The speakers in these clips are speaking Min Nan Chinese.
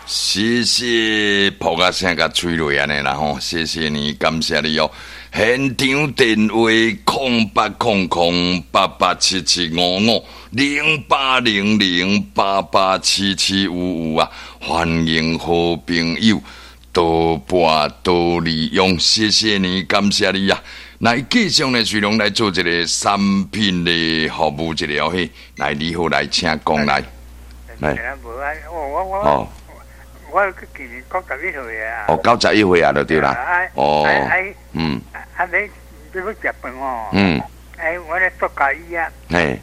謝謝噗仔聲共吹落按呢啦吼，謝謝你，感謝你哦。現場電話08008877550800887755啊，歡迎好朋友多撥多利用，謝謝你，感謝你啊。來繼續呢，徐龍來做一個產品的服務，一個哦嘿，來你好，來請講來，來，哦。我今年91歲啊！哦，91歲啊，就對啦。哦，嗯。啊，你欲食飯哦？嗯。哎，我咧做家己啊。嘿。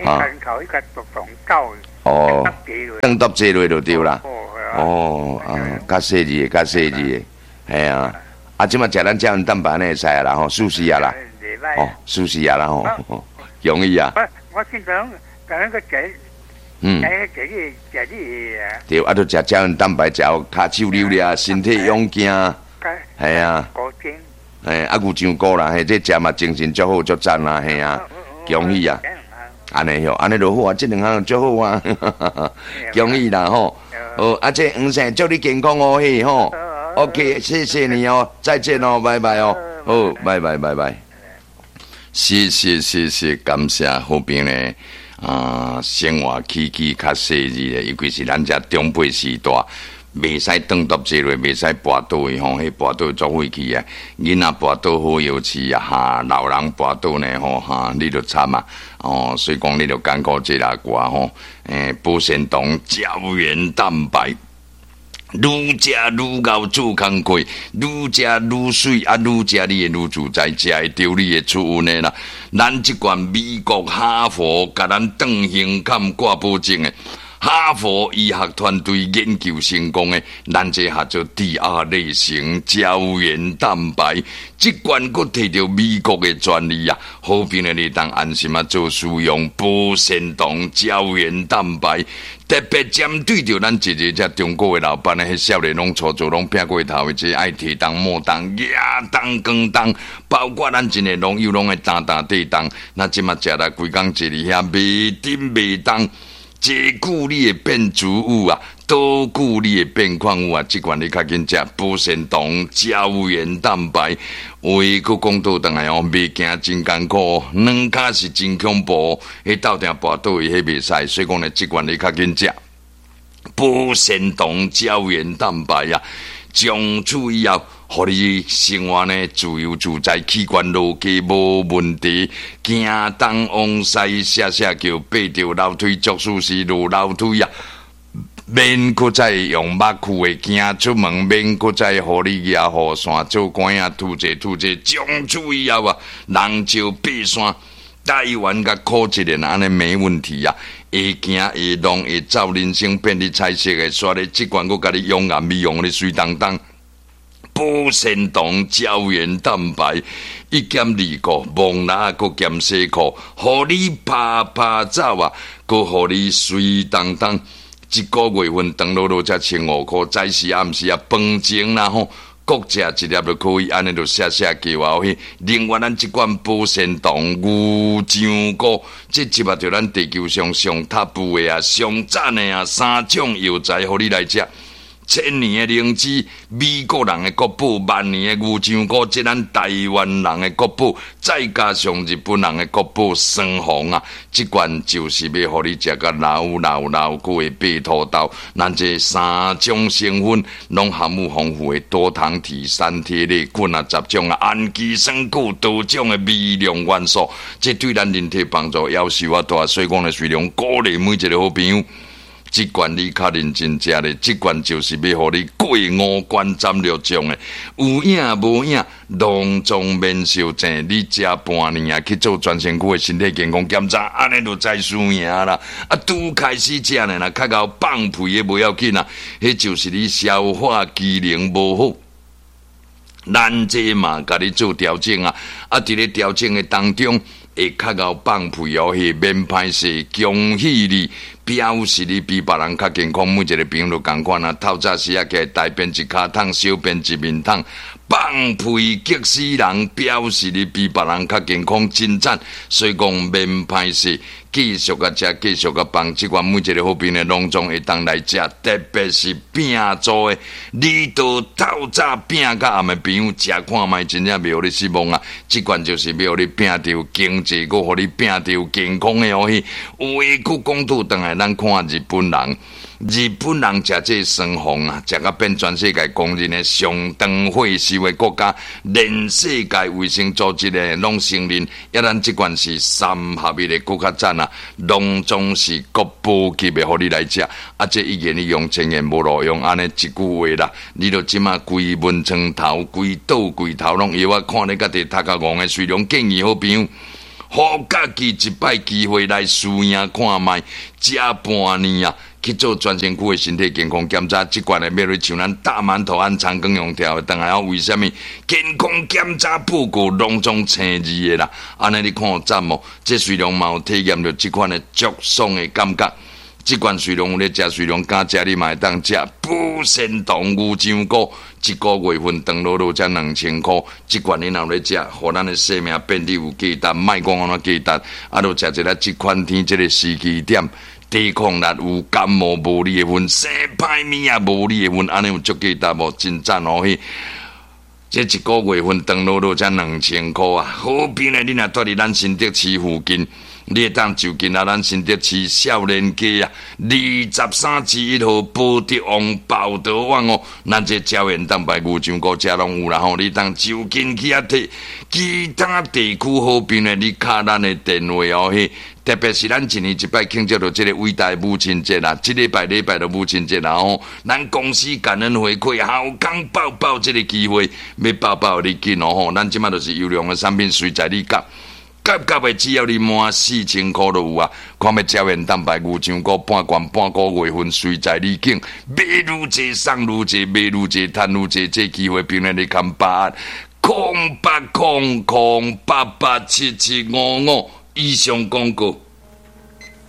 啊。頭一個獨當走。哦。當搭坐落就對啦。哦，啊，較細緻的，較細緻的，嘿啊。啊，這馬食咱膠原蛋白呢會使啊啦吼，舒適啊啦。哦，舒適啊啦吼，容易啊。我我經常講個食。嗯，對，啊，著食膠原蛋白，食予跤手扭了，身體勇健，係啊，嘿，啊牛樟菇啦，嘿，這食嘛精神足好足讚啦，嘿啊，恭喜啊，按呢喲，按呢就好啊，這兩項足好啊，恭喜啦吼，哦，啊這黃生祝你健康哦嘿吼，OK，謝謝你哦，再見哦，拜拜哦，好，拜拜拜拜，謝謝謝謝，感謝好朋友。啊，生活起居較細緻的，尤其是咱遮長輩時代，袂使頓獨坐落，袂使跋倒的吼，彼跋倒足廢去啊！囡仔跋倒好藥飼啊，哈，老人跋倒呢吼，哈，你就慘啊！哦，所以講你就艱苦這啦寡吼，欸，保鮮糖膠原蛋白。愈食愈𠢕做工課，愈食愈媠，啊，愈食你會愈自在，食會著你會出運的啦。咱這罐美國哈佛共咱斷胸坎掛保證的，哈佛醫學團隊研究成功的，咱這叫做第二類型膠原蛋白，這罐閣提著美國的專利啊，好朋友你當安心啊做使用保鮮糖膠原蛋白。特別針對著咱一個遮中國的老闆呢，彼少年攏粗糙，攏拼過頭的，這愛提重莫重、舉重扛重，包括咱真个農友攏會擔擔底重，那這馬食來規工坐佇遐袂振袂動，這久你會變自有啊，多久你會變礦物啊？這款你較緊食保鮮糖、膠原蛋白，話閣講倒轉來哦，袂行真艱苦，兩跤是真恐怖，彼鬥定跋倒去，彼袂使，所以講呢，這款你較緊食保鮮糖、膠原蛋白啊，從此以後，予你生活呢自由自在，器官落家無問題，行東往西，寫寫叫爬著樓梯，足舒適落樓梯啊！免閣再用目睭的行出門，免閣再予你舉雨傘做官仔吐濟吐濟，從此以後啊，人少爬山，台灣共苦一年按呢沒問題啊！會行會弄會走，人生變得彩色的，煞咧這罐閣共你養顏美容咧媠當當。保鮮糖膠原蛋白一減二顧，摸籃閣兼洗褲，予你拍拍走啊，閣予你媠當當。一個月份長落落才1500塊，早時暗時啊，飯前啦吼，各食一粒就可以，按呢就寫寫叫啊。嘿，另外咱這罐保鮮糖牛樟菇，這集合著咱地球上上top的啊，上讚的啊，三種藥材，予你來食。千年的靈芝，美國人的國寶；萬年的牛樟菇，這咱台灣人的國寶，再加上日本人的國寶雙紅啊！這罐就是欲予你食甲老老老，閣會爬土豆。咱這三種成分攏含有豐富的多糖體、三萜類、菌啊、雜種啊、氨基酸、閣多種的微量元素，這對咱人體幫助夭壽啊大。所以講呢，雖然鼓勵每一個好朋友。這罐你較認真食咧，這罐就是欲予你過五關斬六將的，有影無影，攏總免相爭。你食半年啊，去做全身軀的身體健康檢查，按呢就知輸贏啦。啊，拄開始食呢，若較𠢕放屁的無要緊啊，彼就是你消化機能無好。咱這嘛，共你做調整啊，啊，佇咧調整的當中，會較𠢕放屁哦，彼免歹勢，恭喜你，表示你比別人較健康。每一個朋友都仝款啊，透早時仔起來大便一跤桶，小便一面桶，放屁激死人，表示你比別人較健康，真讚。所以講免歹勢，繼續共食，繼續共放，這款每一个好朋友攏總會當來食，特別是餅做的，你都透早餅甲暗的朋友食看覓，真正袂予你失望啊！這款就是欲予你拼著經濟，閣予你拼著健康的哦。有話閣講倒轉來，咱看日本人。日本人食這酸鳳啊，食甲變全世界公認的上長歲壽的國家，連世界衛生組織的攏承認，抑咱這款是三合一的閣較讚啊，攏總是國寶級的，予你來食。啊，這一言你用千言無路用，按呢一句話啦，你著這馬規門床頭、規桌櫃頭攏藥仔，看你家己頭殼戇的，雖然建議好朋友，予家己一擺機會來試驗看覓，食半年啊！去做全身軀的身體健康檢查，這款的欲來像咱大饅頭按長庚用調的，轉來為啥物健康檢查報告攏總青字的啦？按呢你看有讚無？這雖然嘛有體驗著這款的足爽的感覺，這款雖然有咧食，雖然敢食，你嘛會當食。補腎糖牛樟菇，一個月份長落落才2000箍，這款你若有咧食，予咱的生命變得有價值，莫講按怎價值，啊，著食一下這款天這个時機點。抵抗力有感冒無你的份，生歹物也無你的份，按呢有足價值無？真讚哦！彼這一個月份長落落才2000箍啊！好朋友，你若蹛佇咱新竹市附近，你會當就近來咱新竹市少年街啊，23之1號寶德王寶德旺哦，咱這膠原蛋白牛樟菇遮攏有啦吼，你當就近去遐提。其他地區好朋友，你敲咱的電話哦，彼。特別是咱一年一擺慶祝著這个偉大母親節啦，這禮拜禮拜就母親節啦吼，咱公司感恩回饋，好康報報這个機會，欲報報你緊哦吼，咱這馬就是優良的產品，隨在你夾，夾夾的只要你滿4000箍就有啊。看欲膠原蛋白牛樟菇半罐半個月份，隨在你揀，買愈濟送愈濟，買愈濟趁愈濟，這機會朋友你堪把握，0800 887 755。以上廣告。